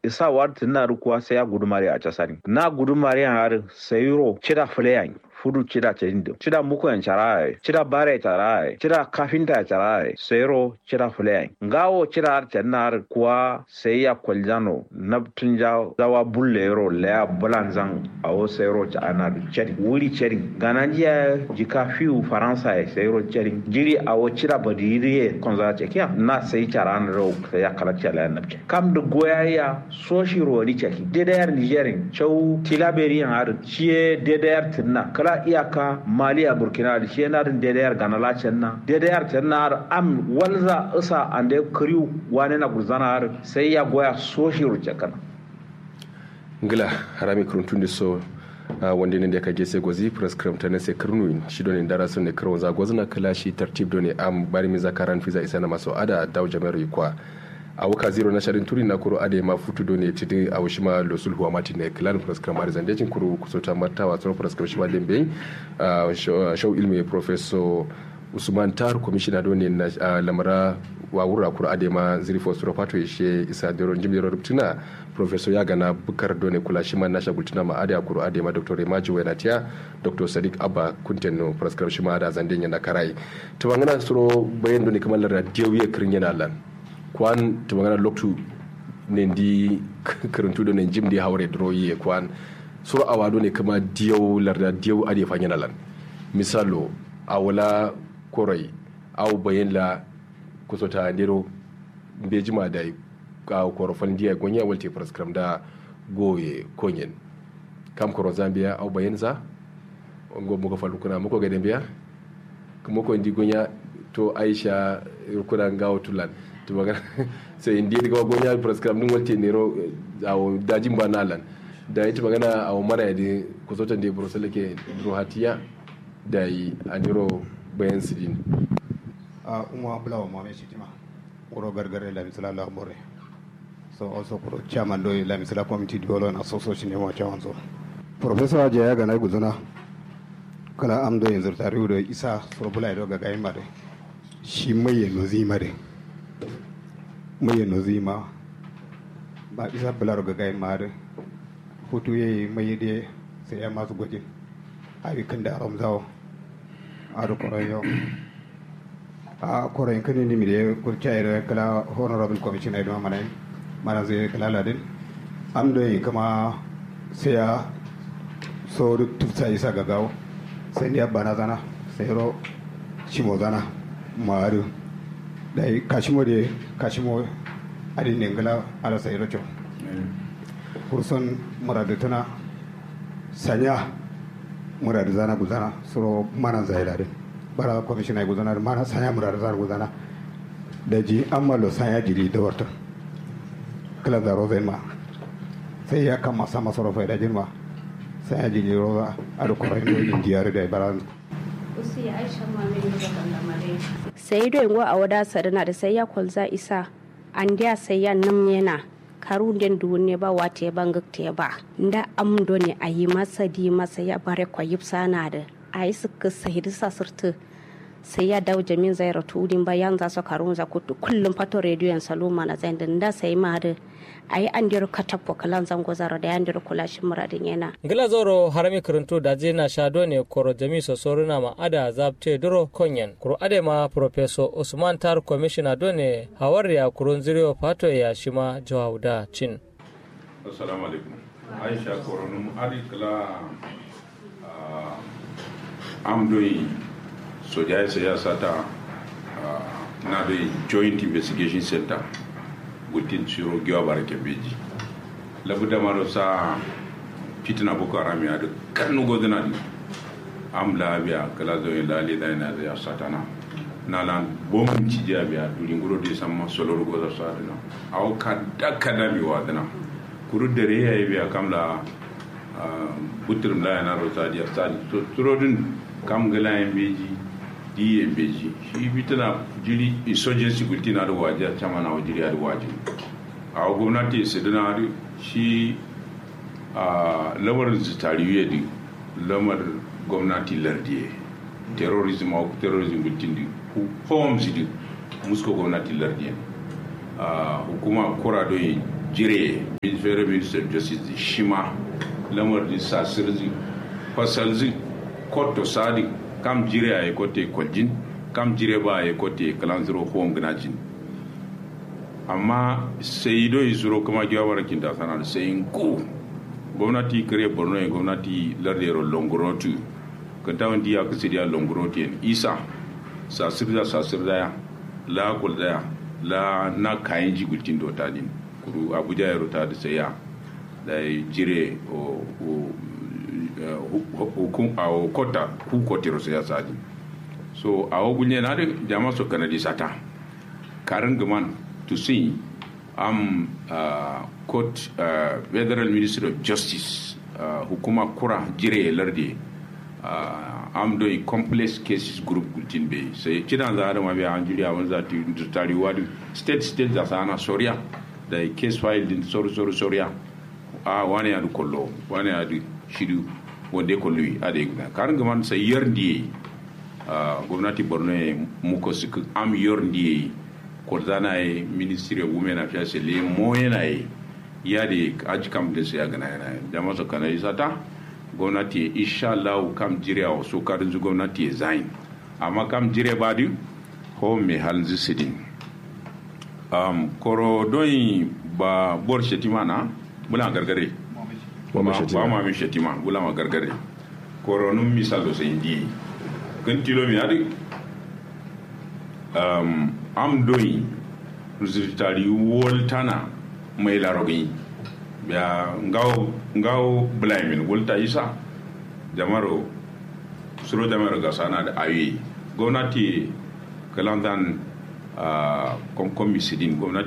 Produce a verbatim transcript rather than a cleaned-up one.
Isa wa dǝ tǝnna dǝ kuwa sai ya gudumare a casarin na gudumare yan adǝ. Sai ro cida fǝle yan fudu cida cadin dǝ cida muko yan cara yaye cida bare cara yaye cida kafinta ya cara yaye sai ro cida fǝle yan ngawo cida adǝ cadin adǝ kuwa sai ya kwalzano nabtǝn ja zawa bulle yero laya bǝlanzan awo sai ro ca'ana dǝ cadin wuri cadin gananji yaye jika fiwu faransa ye sai ro cadin jiri awo cida badiri ye konza cakiya na sai cara na ro sai ya kalakciya laya nabcin kam dǝ goya ya soshi rowani caki dedayar nijerin cau tilaberiyan adǝ shiye dedayar tǝnna kǝla iyaka maliya burkina adǝ shiye nadǝn dedayar gana la canna dedayar canna adǝ am walza isa ande kǝriu wane na gulzana adǝ sai ya goya soshi ro cakana. Ngla harami kǝrǝntun dǝ so wande nande ka gese gozi pǝraskǝram tane se kǝrnuwin shi done ndara so ne kǝrawonza gozǝna kǝla shi tartib done am bari minza karan fiza isana maso ada dawo jami'ar yikwa. Awo kaziro na shadin turi na kuro adai ma futu done tidi awo shima losul huwa mati ne klan puraskram adai zande cin kuro kusota martawa soro puraskram shima lembe. Shau ilmi professor usman tar commissioner done na lamara wawura kuro adai ma zirifo soro fato ishe isa dero jim dero ruptuna. Professor ya gana bukar done kula shima na shagultuna ma adai kuro adai ma doctor remaji wenatiya doctor sadiq abba kunten no puraskram shima adai zande yana karai. Tumangana suro bayan done kamar larda diyo ye kirin yana lan. Kwan tumangana loktu nendi kǝrǝntu done njim de haure duro ye kwan. Suro awa done kǝma diyau larda diyau ade fanyana lan. Misalo awo la koroi awo bayin la kusota ndero mbejima dai. Awo koro fal ndiya gonya walte puraskram da goye konyen. Kam koronza mbeya awo bayin za. Ngo muko fal rukuna muko gade mbeya. Muko ndi gonya to aisha rukuna ngawo tulan. Tumagana sai ndi ga gonya puraskram num walte nero. Awo dajin ba nalan. Dai tumagana awo mana yadi kusotan de burusale ke duro hatiya. Dai andiro bayan sidin. A umma bulawa mame shitima. Wuro gargare lamisila lambore. So also kuro chairman do lamisila committee development association ne mo chairman so. Professor aje ya gana guzuna. Kala am do yanzu tariu do isa suro bula do ga gayin ma de. Shi mai ya nozi ma de. Mai ya nozi ma. Ba isa bula do ga gayin ma de. Hutu yayi mai de sai ya masu gojin. Abi kanda romzawo. Adu koroyo. A koro yin kǝnin dimi de kurca yi do kǝla honorable commission ai duma mana yin. Mana zai kǝla ladin. Am do yi kǝma sai ya so duk tufsa isa gagawo. Sai ndiya bana zana sai ro cimo zana. Ma adu dai kashimo de kashimo. Adin ne ngala ala sai ro co. Kurson muradu tuna. Sanya muradu zana guzana suro mana zai ladin. Bara commission ai guzana mana sanya muradu zana guzana. Daji amma lo sanya jili dawartun. Kala zaro zai ma sai ya kama sama suro faida jin ma. Sanya jili roza adu korai no yin diyari da bara. Usi aisha ma min da kallama dai. Sai do ngo awo da sadana da sai ya kolza isa. Andiya sai ya num yena. Karu nden duwun ne ba wate ba ngǝkte ba. Nda am done ayi ma sadi ma sai ya bare ko yipsana dǝ. Ayi sǝkkǝ sai dǝ sasǝrtǝ. Sai ya dawo jamin zairo tuwudin ba yanza so karunza kuttu kullum fato rediyo yan saluma na zain dǝ nda sai ma dǝ. Ayi andiro katappo kǝlan zango zaro da yandiro kula shi muradin yena. Ngla zoro harami kǝrǝntu daji na sha done koro jami so soruna ma ada zabte duro konyen kuro ade ma professor usman tar commissioner done. Hawar ya kurun ziriyo fato ya shima jawauda cin. Assalamu alaikum. Aisha koronum adi kla. Am doi soja ya saya sata. Na doi joint investigation center. Gultin siro giwa bara kembeji. Labu damaro sa fitina boko haram ya duk kanu godina di. Am la biya kala zoyin la le dai na ya satana. Na lan bom ci ja biya duri nguro de samma solor goza sadina. Awo kada kada mi wadina. Kuru dare ya biya kam la. Buturum la yana ro sadi ya sadi. Surodin kam gala ya beji. Di ya beji shi bitana jiri insurgency gultina da wajiya chama na wajiri ya da wajiya. Awo gomnati sidina da shi. Lamarin zitariyu ya da lamar gomnati lardiye. Terrorism a terrorism gultin da. Homes da musko gomnati lardiye. Hukuma kura doyi. Jire, federal minister of justice dǝ shima lamar dǝ sasǝr dǝ fasal dǝ kotto sa dǝ kam jire aye kotte koljin, kam jire ba aye kotte kǝlan zuro huwam gǝnajin. Amma sai doi suro kǝma giwa mara kinta sana dǝ sai ngu gomnati kǝre borno ye gomnati lardero longurotu kǝnta wandi ya kǝsǝdiya longurotu yen isa sasǝrda sasǝrda ya la kulda ya la na kayinji gultin do tadin. Kuru abuja yero tadǝ sai ya dai jire o o hukum awo kota ku kotero sai ya sadin. So awo gulnyen adǝ jama so kanadi sata karǝn gǝman tusin am court federal ministry of justice hukuma kura jire larde am doi complex cases group gultin be sai cidan za adama be anjuri awon za ti tari wadi state state za sana soria da case file din soru soru soria a wane adu kollo wane adu shidu wande kollo ade guna karǝn gǝman sai yar ndiye gwamnati borno ye muko sǝkǝ am yor ndiye kolzana ye ministry of women affairs le moyena ye yade aji kam de sai agana yana ye jama so kana isata gwamnati ye inshallahu kam jire awo so kadunzu gwamnati ye zain amma kam jire badu home halnzu sidin am koro doi ba bor shetima na bula gargare ba mami shetima bula ma gargare koro num misal do sai ndi kan tilo mi adi am doi zirtari woltana mai larogin biya ngawo ngawo bulaimin wolta isa jamaro suro jamaro gasana da awi gwamnati kalanzan komkomi sidin gwamnati